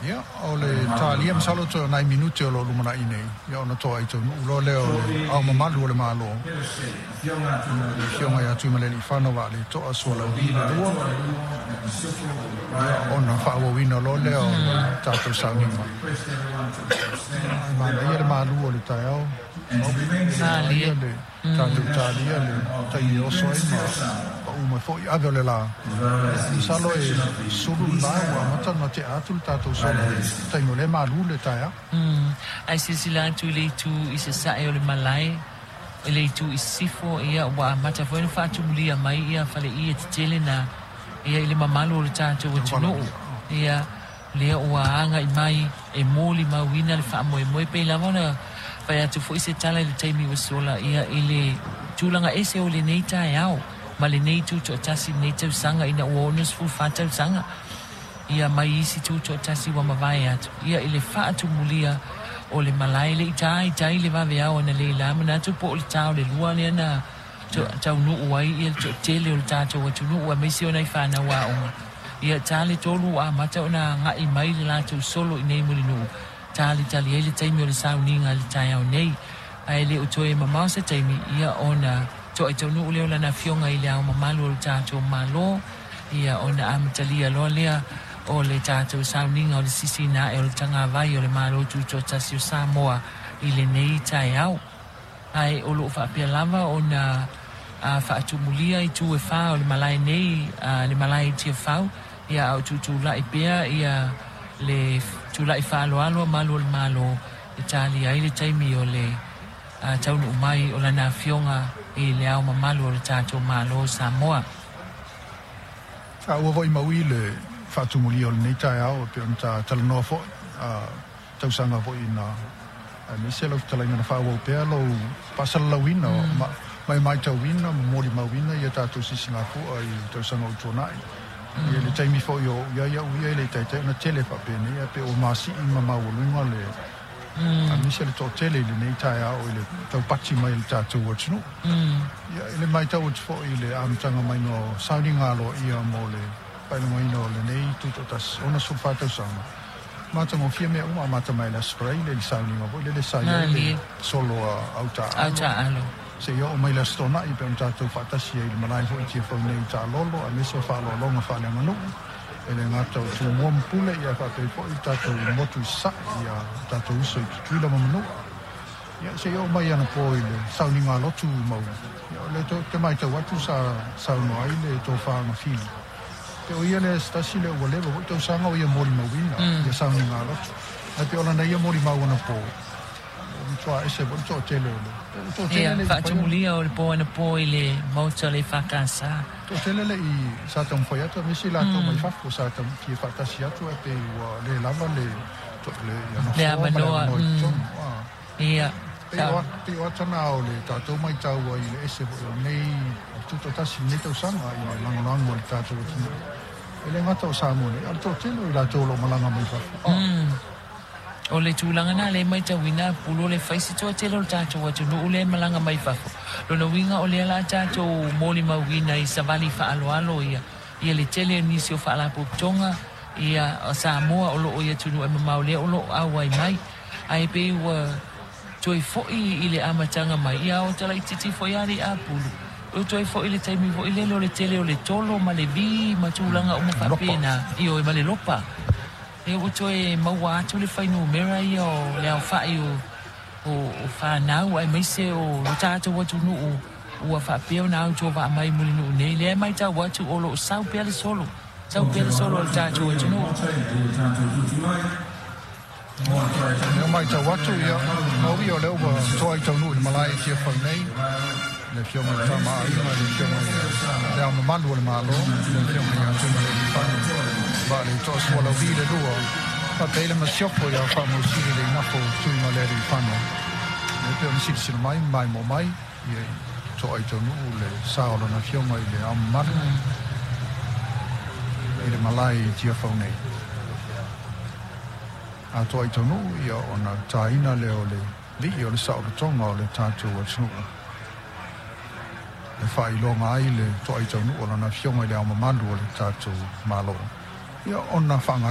Ia, o le talia masalo toe o nai minute o lo o lumanai nei, ia ona toaitaunuu loa lea o le Ao Mamalu o le Malo, le Afioga ia Tuimalealiifano Vaaleto'a Sualauvi II, ia ona faaauauina loa lea o le tatou sauniga. Ae manaia le malu o le taeao, manaia le tatou talia le taimi e oso ai ma pau mai foi ave o le la. Masalo e sulu le la ua amata ona tea atu le tatou solo i le taimi o lea e malu le taeao. Ae silasila atu i le itu i sasae o le malae, i le itu i sisifo, ia, ua amata foi ona faatumulia mai ia faleie tetele na, ia, i le mamalu o le tatou atunuu, ia, lea ua agai mai e molimauina le faamoemoe. Pei lava ona fai atu foi se tala i le taimi ua sola, ia, i le tulaga ese o lenei taeao ma lenei tutoatasi i lenei tausaga ina ua 64 tausaga, ia, mai isi tutoatasi ua mavae atu, ia, i le faatumulia o le malae. Le i ta i tai le vaveao analeila, manatu po o le ta o le 2 lea na taunuu ai ia le toatele o le tatou atunuu aemaise o nai fanau aoga. Ia, ta le 3 ua amata ona agai mai le latou solo i nei Mulinuu, talitali ai le taimi o le sauniga i le taeao nei. Ae le o toe mamao se taimi, ia, ona toaitaunuu lea o lana Afioga i le Ao Mamalu o le tatou Malo, ia, ona amatalia loa lea o le tatou sauniga o le sisiina ae o le tagavai o le Malo Tutoatasi o Samoa i lenei taeao. Ae o lo o faapea lava ona faatumulia i tu e 4 o le malae nei, le malae i Tiafau, ia, a o tutulai pea ia le tulai faaaloalo a malu o le Malo e talia ai le taimi o le taunuu mai o lana Afioga i le Ao Mamalu o le tatou Malo o Samoa. Sa ua foi mau i le faatumulia o lenei taeao e pei ona ta talanoa foi tausaga foi na aemaise lau fetalaiga na faaauau pea lou faasalalauina ma e matauina ma molimauina ia tatou sisigafua i tausaga o tuanai. Ia le taimi foi o ia ia ia i le taitai ona tele faapenei ae pei ua masii ma maualuga le aemaise le toatele i lenei taeao i le taupati mai le tatou atunuu. Ia i le matau atu foi i le amataga mai o sauniga aloaia mo le faailogaina o lenei tutoatasi 64 tausaga, matagofie mea uma, amata mai le Aso Faraile i le sauniga foi lele sa i ai le solo a Autaalo, seia oo mai le Aso Toonai pe ona tatou faatasi ai i le malae foi i Tiafau nei i Taalolo, aemaise o faaaloaloga faaleaganuu e le gata o Tumua ma Pule, ia faapea foi le tatou motu i Sasae, ia tatou uso i Tutuila ma Manua. Ia seia oo mai anapo i le sauniga lotu mau, ia o le te matau atu sa saunoa ai le tofa Fili. Pe o ia le se tasi le ua leva foi tausaga o ia molimauina ia sauniga lotu. Ae pe o lana ia molimau anapo, o matua ese foi le toatele o le toatele le faatumulia o le po anapo i le maota o le EFKS. Toatele le i sa taumafai atu aemaise i latou mai fafo sa fia faatasi atu ae pei ua le lava le le avanoa i totonu. Pei o atana o le tatou matau ai i le ese foi o lenei tutoatasi i lenei tausaga i le lagolago o le tatou atunuu. E le gata o Samoa nei, a o le toatele o i latou o lo o malaga mai fafo. O le tulaga na le matauina pulo le fai se toatele o le tatou atunuu le malaga mai fafo. Lona uiga o lea la tatou molimauina i savali faaaloalo ia, ia le tele o nisi o faalapotopotoga ia Samoa o loo i atunuu e mamao lea o loo auai mai. Ae pei ua toe foi i le amataga mai, ia o talaititi foi a le apulu. O toe foi le taimi foi lele o le tele o le tolo ma le vi ma tulaga uma faapena. Ioe ma le lopa. E ua toe maua atu le fuainumera ia o le aofai o fanau aemaise o lo tatou atunuu ua faapea ona autovaa mai Mulinuu nei. Lea e matau atu o loo sau pea le solo, sau pea le solo o le tatou atunuu. Lea matau atu ia maui o lea ua toaitaunuu i le malae i Tiafau nei le Afioga i le Tama a Aiga, le Afioga i le Ao Mamalu o le Malo, le Afioga ia Tuimalealiifano Vaaleto'a Sualauvi II, faapea ai le masiofo ia Faamausili le Igafo Tuimalealiifano. E pei ona silasila mai ma maimoa mai ia toaitaunuu le sa o lana Afioga i le Ao Mamalu i le malae i Tiafau nei. A toaitaunuu ia ona taina lea o le lii o le saolotoga o le tatou atunuu e faailoga ai le toaitaunuu o lana Afioga i le Ao Mamalu o le tatou Malo, ia ona faagasolo.